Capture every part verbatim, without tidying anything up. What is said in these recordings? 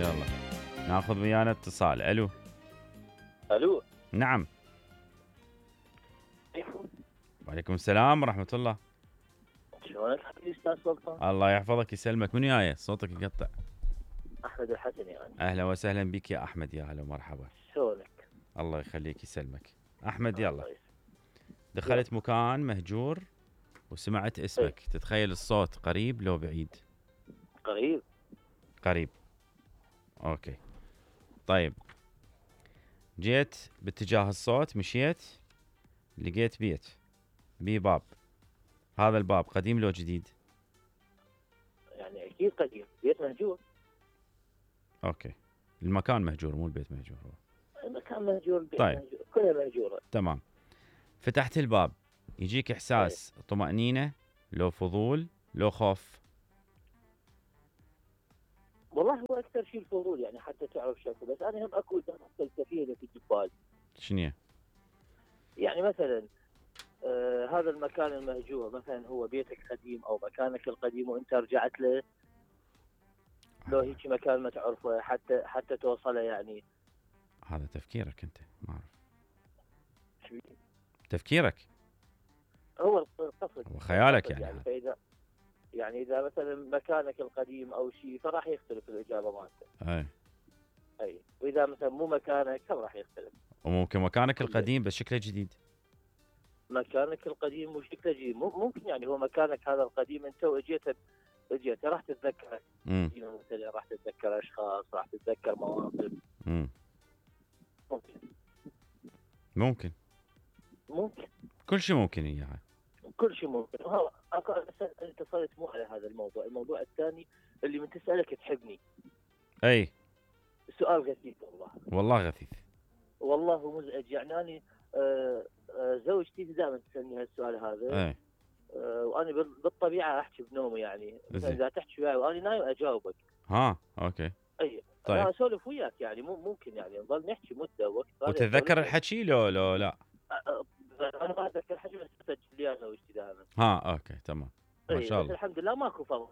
يلا ناخذ ويانا اتصال. الو الو. نعم. وعليكم السلام ورحمة الله. شلونك حبيبي استاذ سلطان؟ الله يحفظك يسلمك. من وياي؟ صوتك يقطع. احمد الحسن يعني. اهلا وسهلا بك يا احمد. يا هلا ومرحبا. شلونك؟ الله يخليك يسلمك. احمد يلا. الله دخلت يلا. مكان مهجور وسمعت اسمك. ايه؟ تتخيل الصوت قريب لو بعيد؟ قريب. قريب. اوكي طيب. جيت باتجاه الصوت، مشيت لقيت بيت بيه باب. هذا الباب قديم لو جديد؟ يعني اكيد قديم، بيت مهجور. اوكي المكان مهجور مو البيت مهجور. المكان مهجور، البيت طيب. مهجور، كلها مهجوره. تمام. فتحت الباب، يجيك احساس طيب. طمأنينة لو فضول لو خوف؟ والله هو اكثر شيء الفضول، يعني حتى تعرف شكله، بس انا هم اكو فلسفيه اللي تجي ببالي. شنو؟ يعني مثلا آه هذا المكان المهجور، مثلا هو بيتك قديم او مكانك القديم وانت رجعت له، لو هيك مكان ما تعرفه حتى حتى توصله يعني. هذا تفكيرك انت، ما اعرف. تفكيرك هو القصد، هو خيالك يعني. يعني. يعني فاذا يعني اذا مثلا مكانك القديم او شيء فراح يختلف الاجابه مالته. اي اي، واذا مثلا مو مكانك هم راح يختلف. وممكن مكانك القديم بس شكله جديد. مكانك القديم وشكله جديد، ممكن يعني هو مكانك هذا القديم انت واجيت اجيت راح تتذكر مثلا، راح تتذكر اشخاص، راح تتذكر مواقف. امم ممكن ممكن ممكن كل شيء ممكن اياها. كل شيء ممكن. ها انت صرت مو على هذا الموضوع، الموضوع الثاني اللي من تسالك تحبني. اي سؤال غثيث والله. والله غثيث. والله مزعج يعني. انا آه آه زوجتي دائما تسالني هالسؤال هذا. اي آه وانا بالطبيعه احكي بنومي، يعني اذا تحكي وياي وانا نايم اجاوبك. ها اوكي. اي طيب. انا اسولف وياك يعني، مو ممكن يعني نظل نحكي مده وقت. وتتذكر الحكي لو لو لا؟ انا ما اتذكر الحكي بس اسجل لي زوجتي دائما. ها اوكي تمام. ما شاء الله. بس الحمد لله ماكو فرق.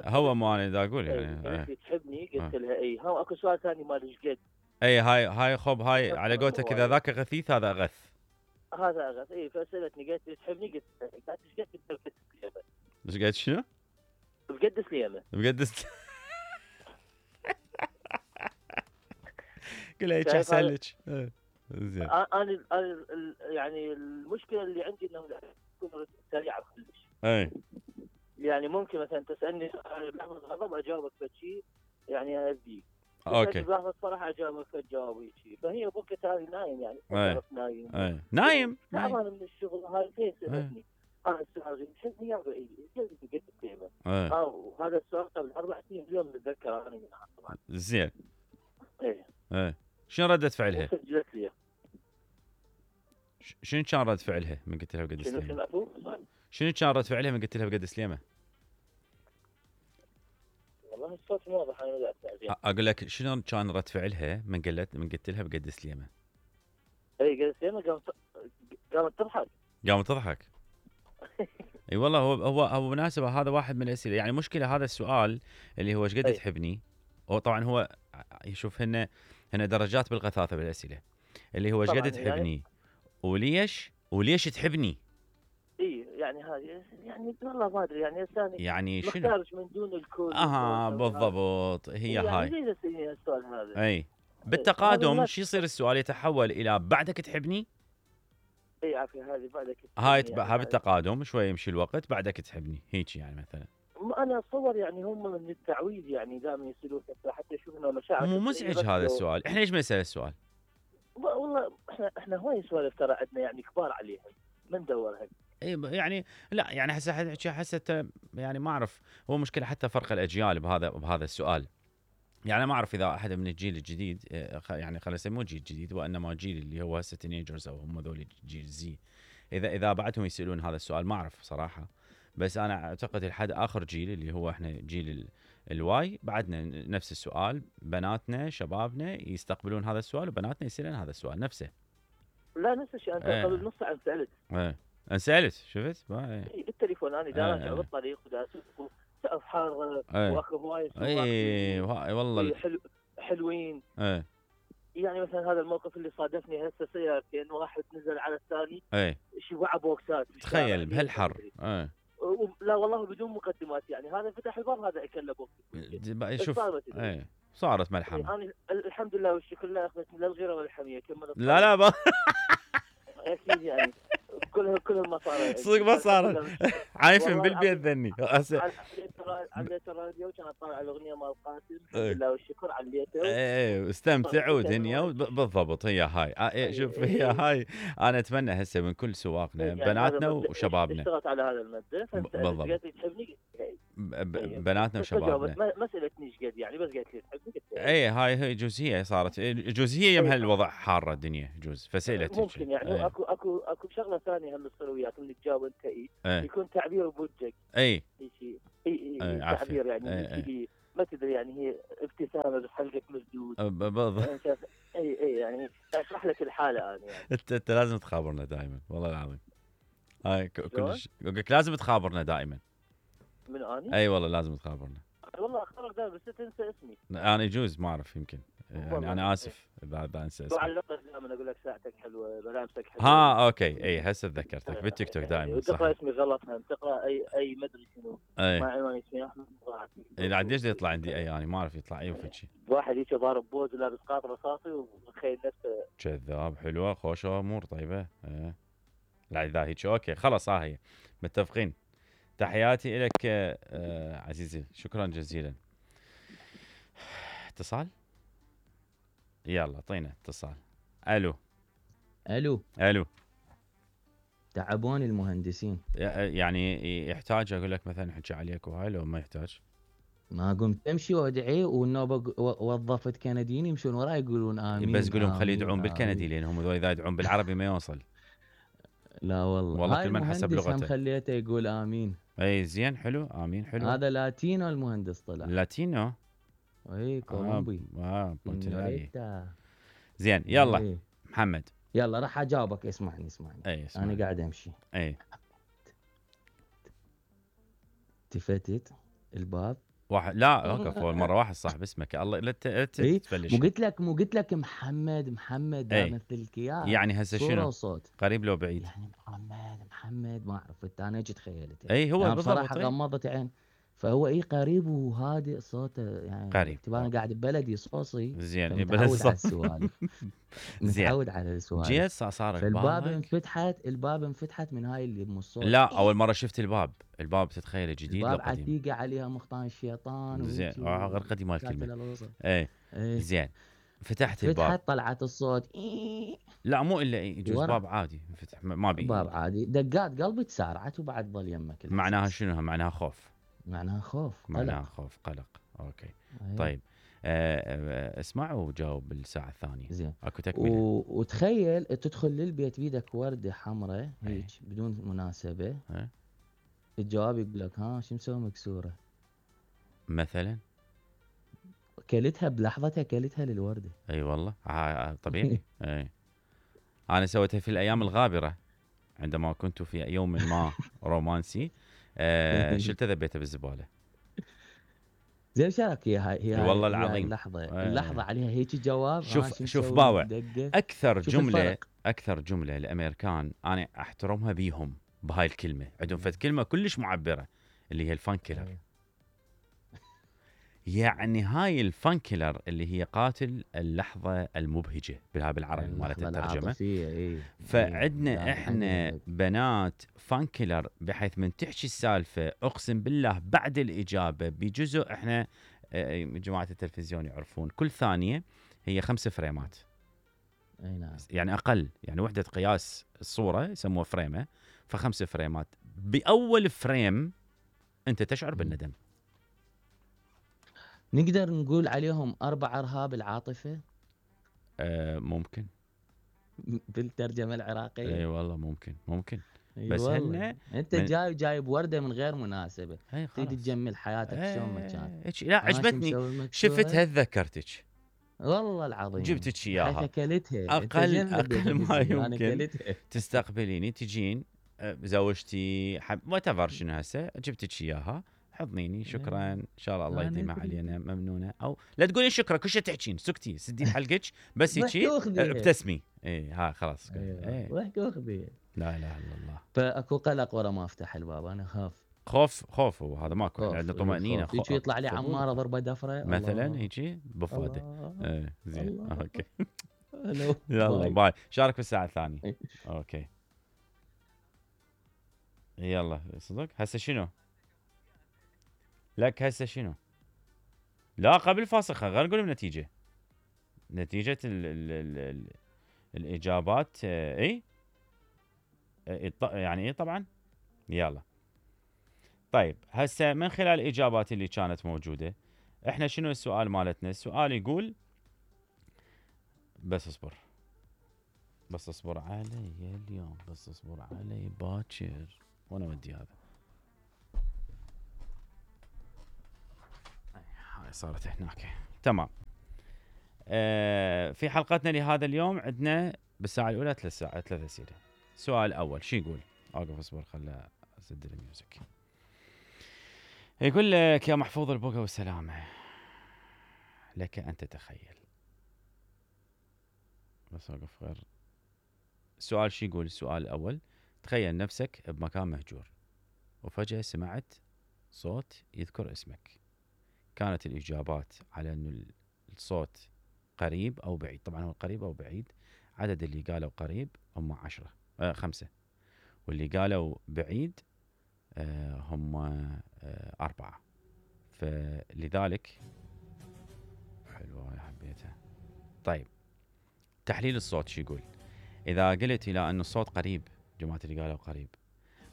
هو ما انا دا اقول يعني. انت تحبني قلت لها اي. ها اكو سؤال ثاني مال ايش قد. اي هاي هاي خب هاي على قولتك، اذا ذاك غثيث هذا اغث. هذا اغث. اي فسالتني قالت لي تحبني، قلت لها ايش قد بقدس ليمه. ايش قد شنو؟ بقدس ليمه. بقدس. قل هيك احسن لك. زين. انا انا يعني المشكله اللي عندي انه تكون سريعه كلش. اي يعني ممكن مثلا تسالني سؤال بلحظه غضب اجاوبك بشيء يعني اذيك. اوكي. بلحظه فرح اجاوبك بجواب هيك. فهي بوقت هذه نايم يعني. اي نايم. اي نايم. تعبان من الشغل هاي. فين سالتني هذا السؤال تحبني يا بعيد قلت قد كلمه. اه وهذا السؤال قبل اربع سنين اليوم بتذكر انا منها طبعا. زين. ايه ايه شنو ردة فعلها؟ سجلت لي. شنو كان رد فعلها من قلت لها بقدس ليمه؟ شنو شنو كان رد فعلها من قلت لها بقدس ليمه؟ والله الصوت مو واضح. انا بدأت زين. اقول لك شنو كان رد فعلها من قلت من قلت لها بقدس ليمه؟ اي قدس ليمه قامت قامت تضحك. قامت تضحك. اي والله هو هو هو بالمناسبه هذا واحد من الاسئله، يعني مشكله هذا السؤال اللي هو ايش قد تحبني. هو طبعا هو يشوف هنا هنا درجات بالغثاثه بالاسئله، اللي هو ايش قد تحبني يعني وليش وليش تحبني. اي يعني هذه يعني والله ما ادري يعني ثاني يعني شنو مختارش من دون الكل. اها بالضبط هي يعني هاي. يعني زي السؤال هذا. اي بالتقادم شو يصير السؤال يتحول الى بعدك تحبني. اي عافيه هذه بعدك تحبني. هاي يعني هاي بالتقادم شوي يمشي الوقت بعدك تحبني هيك يعني مثلا. انا اتصور يعني هم من التعويض يعني دائما يسالون حتى يشوفون مشاعر. مو مزعج هذا السؤال. احنا ليش ما نسال السؤال؟ والله احنا احنا هواي سوالف ترى عندنا يعني كبار عليهم ما ندورها. اي يعني لا يعني هسه حسيت يعني ما اعرف. هو مشكله حتى فرق الاجيال بهذا بهذا السؤال. يعني ما اعرف اذا احد من الجيل الجديد يعني خلينا نسميه جيل جديد وانما جيل اللي هو هسه تينيجرز او هم ذول جيل زي، اذا اذا بعدهم يسالون هذا السؤال ما اعرف صراحه. بس انا اعتقد لحد اخر جيل اللي هو احنا جيل الواي بعدنا نفس السؤال. بناتنا شبابنا يستقبلون هذا السؤال وبناتنا يسالون هذا السؤال نفسه. لا نفس الشيء. انت ايه. قبل نص ساعه سالت. ايه انا سالت شفت؟ اي بالتليفون انا دا راجع بالطريق ودا اسوق سقف حاره ايه. واخذ هواي اي والله حلو حلوين. ايه يعني مثلا هذا الموقف اللي صادفني هسه سيارتين، واحد نزل على الثاني ايه شوع بوكسات في الشارع، تخيل ليش ما بهالحر. أدري. ايه و- لا والله بدون مقدمات، يعني هذا فتح الباب هذا اكل بوكس. دي- بس شوف صار ما تدري. ايه صارت ملحمه. انا الحمد لله والشكر لا اخذتني لا الغيره ولا الحميه، كملت لا لا ما اكيد يعني كلها كلها ما صار. صدق ما صارت. عايفين والله بالبيت العظيم. ذني هسه. عليت الراديو كان اطالع الاغنيه مال قاسم، الحمد إيه. لله والشكر عليته. ايه استمتعوا دنيا وب- بالضبط هي هاي. آه، إيه شوف هي هاي. انا اتمنى هسه من كل سواقنا يعني بناتنا هذا مبدأ وشبابنا. اشتغلت على هذا المبدا، ب- فانت بالضبط. قالت لي تحبني ب- ب- طيب. بناتنا بس جاوبت، وشبابنا. ما ما سالتني ايش قد يعني، بس قالت لي تحبني قلت لها اي هاي هي جزئيه صارت. إيه، جزئيه يم إيه. هالوضع حاره الدنيا جوز فسالتك. ممكن يعني اي اكو اكو اكو شغله ثانيه هم تصير وياك اللي تجاوب انت اي اي يكون تعبير بوجهك اي شيء اي إيه، اي عافية. تعبير يعني إيه، إيه. شيء ما تدري يعني هي ابتسامه بس حلقك مسدود. ب- بالضبط. يعني شايف- اي اي يعني اشرح لك الحاله انا يعني. انت انت لازم تخابرنا دائما والله العظيم. هاي ك- شلون؟ كلش اقول لك لازم تخابرنا دائما. من اني؟ اي والله لازم تخابرنا. والله اختارك دائما بس تنسى اسمي. انا يجوز ما اعرف يمكن يعني والله. انا اسف اذا اذا انسى اسمي. وعلقت دائما اقول لك ساعتك حلوه، ملابسك حلوه. ها اوكي اي هسه تذكرتك بالتيك توك دائما صح. وتقرا اسمي غلط، هم تقرا اي اي مدري شنو. اي ما عنواني اسمي احمد ضاعت. اي لا ليش يطلع عندي اي يعني ما اعرف يطلع اي وفد شيء. واحد هيك ضارب بوز ولابس قاط رصاصي ومتخيل نفسه. كذاب. حلوه خوشه امور طيبه. ايه لا اذا هيك اوكي خلاص ها هي متفقين. تحياتي لك آه عزيزي شكرا جزيلا. اتصال يلا اعطينا اتصال. الو الو الو. تعبون المهندسين. يعني يحتاج اقول لك مثلا احكي عليك وهاي لو ما يحتاج؟ ما قمت امشي وادعي والنوبه ق- و- وظفت كنديين يمشون وراي يقولون امين. بس قول لهم خلي آمين، يدعون بالكندي آمين. لانهم هذول اذا يدعون بالعربي ما يوصل. لا والله والله هاي كل من حسب المهندس هم لغته. خليته يقول امين. اي زين حلو امين حلو. هذا لاتينو المهندس طلع. لاتينو. اي كولومبي. اه, آه. بونتيناري. سينيوريتا. زين يلا إيه. محمد. يلا راح اجاوبك. اسمعني اسمعني اي اسمع. انا قاعد امشي اي التفتت الباب. واحد لا وقف اول مره واحد صاحب اسمك الله لا ت- لا ت- إيه؟ تفلش. مو قلت لك مو قلت لك محمد محمد إيه. مثلك اياه. يعني هسه صورة شنو وصوت. قريب لو بعيد؟ يعني محمد محمد ما اعرف انا ايش تخيلت. اي هو يعني بالضبط. بصراحه إيه. غمضت عين. فهو اي قريب وهادئ صوته يعني قريب. اعتبار انا قاعد ببلدي صوصي. زين فمتعود بلد على صوت. السوالف. زين. متعود على السوالف. جيت صار صار فالباب ببالك؟ انفتحت الباب انفتحت من هاي اللي بالصوت. لا اول مره شفت الباب. الباب تتخيله جديد الباب لو قديم؟ عتيقه عليها مختان الشيطان. زين وهيجي آه، غير قديم مال كاتل الكلمه. الوسط. اي إيه. زين فتحت الباب. فتحت طلعت الصوت إيه. لا مو الا إيه، يجوز ورا. باب عادي انفتح ما ما بي. باب عادي دقات قلبي تسارعت وبعد ظل يمك. معناها الإحساس. شنو؟ معناها خوف. معناها خوف معناها قلق. خوف قلق. اوكي أيوة. طيب آه، آه، اسمع وجاوب بالساعه الثانيه. زين اكو تكمله. و... وتخيل تدخل للبيت بيدك ورده حمراء أي. هيك بدون مناسبه. أي. الجواب يقول لك ها شو مسوي مكسوره. مثلا كلتها بلحظتها كلتها للورده. اي والله آه، طبيعي. اي انا سويتها في الايام الغابره عندما كنت في يوم ما رومانسي. آه، شلت ذبيته بالزباله. زين شارك هي هاي هي إي والله هاي- هي هاي العظيم. اللحظه أي. اللحظه عليها هيك جواب. شوف- ها شو شوف مسوي باوع. دقة. اكثر شوف جمله الفرق. اكثر جمله الامريكان انا احترمها بيهم بهاي الكلمه. عندهم فد كلمه كلش معبره اللي هي الفانكيلر. أي. يعني هاي الفانكيلر اللي هي قاتل اللحظه المبهجه بالها بالعربي مالت اللحظة الترجمه. العاطفية، إيه. فعندنا إيه. احنا عندك. بنات فانكيلر بحيث من تحكي السالفه اقسم بالله بعد الاجابه بجزء احنا آه، جماعه التلفزيون يعرفون كل ثانيه هي خمس فريمات. اي نعم. يعني اقل يعني وحده قياس الصوره يسموها فريمه. فخمس فريمات باول فريم انت تشعر بالندم. نقدر نقول عليهم اربع ارهاب العاطفه آه ممكن. بالترجمه العراقيه. اي والله ممكن ممكن. أي بس والله. هن انت من- جاي جايب ورده من غير مناسبه. اي تريد خلاص. تجمل حياتك شلون ما كان. إيه، لا ها شو عجبتني مسوي مكسورة؟ شفتها تذكرتك والله العظيم جبتك حيث اياها. اكلتها. أنت أقل- زين أقل بديت ما تقول أنا يمكن. أكلتها. تستقبليني تجين آه، زوجتي حب وات ايفر شنو هسه جبتك اياها حضنيني شكرا إيه. ان شاء الله الله أنا يديمها أدري. علينا ممنونه، او لا تقولين شكرا كل شيء تحكين سكتي سدين حلقك بس ضحك هيك واخذي. ابتسمي. اي ها خلاص ايوه ايه ضحك واخذي. لا اله الا الله. فاكو قلق ورا ما افتح الباب، انا خاف. خوف خوف وهذا ماكو، احنا خوف، عندنا إيه، طمانينه خوف. يجي يطلع لي فضول. عماره ضربه دفره مثلا الله. يجي بفاده. الله. ايه زين الله. اوكي ألو. يلا باي. باي. شارك في الساعه الثانيه. إيه. اوكي يلا صدق هسه شنو؟ لك هسه شنو؟ لا قبل فاصل غير نقول النتيجه. نتيجه ال ال ال ال الاجابات آه، اي إيه يعني ايه طبعا. يلا طيب هسه من خلال الاجابات اللي كانت موجوده احنا شنو السؤال مالتنا؟ السؤال يقول بس اصبر بس اصبر علي اليوم، بس اصبر علي باكر. وانا ودي هذا هاي صارت هناك تمام. آه في حلقتنا لهذا اليوم عندنا بالساعه الاولى ثلاث ساعات ثلاث اسئله. السؤال الاول شو يقول؟ اوقف اصبر خله اسدل الميوزك. يقول لك يا محفوظ البقى والسلامه لك ان تتخيل. بس اوقف غير. السؤال شو يقول؟ السؤال الاول تخيل نفسك بمكان مهجور وفجاه سمعت صوت يذكر اسمك. كانت الاجابات على انه الصوت قريب او بعيد. طبعا هو قريب او بعيد. عدد اللي قالوا قريب هم عشرة آه خمسة، واللي قالوا بعيد آه هم آه أربعة. فلذلك حلوة حبيتها. طيب تحليل الصوت شو يقول؟ إذا قلت إلى أن الصوت قريب، جماعة اللي قالوا قريب،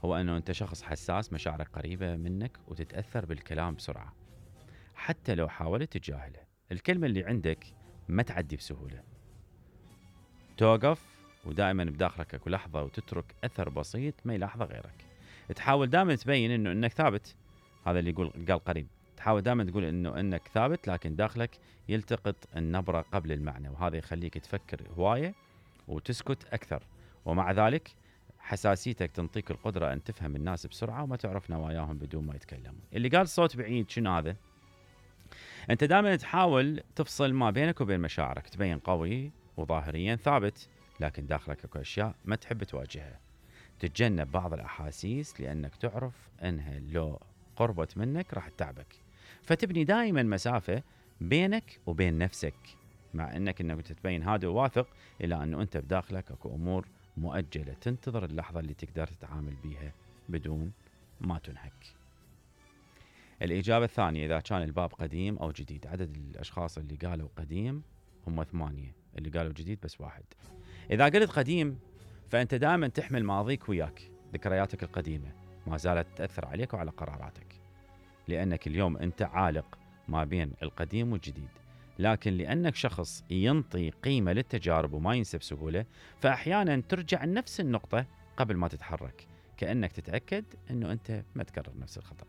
هو أنه أنت شخص حساس، مشاعرك قريبة منك وتتأثر بالكلام بسرعة حتى لو حاولت تتجاهله. الكلمة اللي عندك ما تعدي بسهولة، توقف ودائما بداخلك اكو لحظة وتترك أثر بسيط ما يلاحظه غيرك. تحاول دائما تبين انه انك ثابت. هذا اللي يقول قال قريب. تحاول دائما تقول انه انك ثابت لكن داخلك يلتقط النبرة قبل المعنى، وهذا يخليك تفكر هواية وتسكت أكثر. ومع ذلك حساسيتك تنطيك القدرة أن تفهم الناس بسرعة وما تعرف نواياهم بدون ما يتكلموا. اللي قال صوت بعيد شنو هذا؟ أنت دائما تحاول تفصل ما بينك وبين مشاعرك، تبين قوي وظاهريا ثابت لكن داخلك اكو أشياء ما تحب تواجهها. تتجنب بعض الأحاسيس لأنك تعرف أنها لو قربت منك راح تتعبك، فتبني دائما مسافة بينك وبين نفسك، مع أنك أنك تتبين هادئ وواثق إلى أنه أنت بداخلك اكو أمور مؤجلة تنتظر اللحظة اللي تقدر تتعامل بيها بدون ما تنهك. الإجابة الثانية إذا كان الباب قديم أو جديد. عدد الأشخاص اللي قالوا قديم هم ثمانية، اللي قالوا جديد بس واحد. إذا قلت قديم فأنت دائما تحمل ماضيك وياك، ذكرياتك القديمة ما زالت تأثر عليك وعلى قراراتك، لأنك اليوم أنت عالق ما بين القديم والجديد. لكن لأنك شخص ينطي قيمة للتجارب وما ينسى بسهولة، فأحيانا ترجع لنفس النقطة قبل ما تتحرك، كأنك تتأكد أنه أنت ما تكرر نفس الخطأ.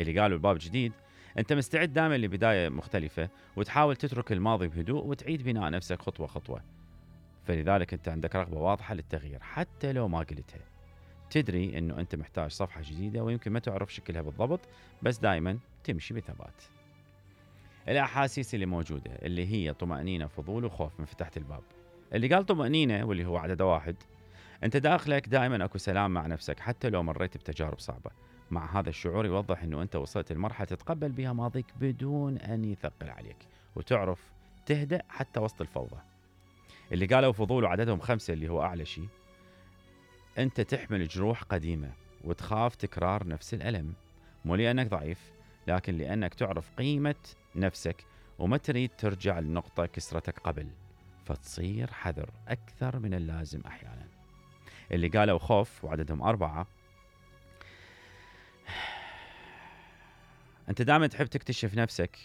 اللي قالوا الباب جديد، أنت مستعد دائما لبداية مختلفة وتحاول تترك الماضي بهدوء وتعيد بناء نفسك خطوة خطوة. فلذلك أنت عندك رغبة واضحة للتغيير حتى لو ما قلتها. تدري أنه أنت محتاج صفحة جديدة ويمكن ما تعرف شكلها بالضبط، بس دائما تمشي بثبات. الأحاسيس اللي موجودة اللي هي طمأنينة، فضول وخوف من فتحت الباب. اللي قال طمأنينة واللي هو عدد واحد، أنت داخلك دائما أكو سلام مع نفسك حتى لو مريت بتجارب صعبة. مع هذا الشعور يوضح أنه أنت وصلت لمرحلة تتقبل بها ماضيك بدون أن يثقل عليك، وتعرف تهدأ حتى وسط الفوضى. اللي قالوا فضول وعددهم خمسة اللي هو أعلى شيء، أنت تحمل جروح قديمة وتخاف تكرار نفس الألم، مو لأنك ضعيف لكن لأنك تعرف قيمة نفسك وما تريد ترجع لنقطة كسرتك قبل، فتصير حذر أكثر من اللازم أحيانا. اللي قالوا خوف وعددهم أربعة، أنت دائما تحب تكتشف نفسك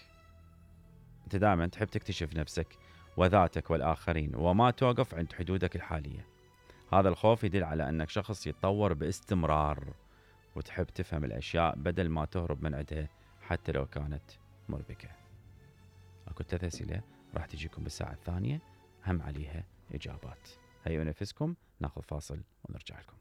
أنت دائما تحب تكتشف نفسك وذاتك والآخرين وما توقف عند حدودك الحالية. هذا الخوف يدل على أنك شخص يتطور باستمرار وتحب تفهم الأشياء بدل ما تهرب من عندها حتى لو كانت مربكة. أكو ثلاث أسئلة راح تجيكم بالساعة الثانية هم عليها إجابات. هيا نفسكم ناخذ فاصل ونرجع لكم.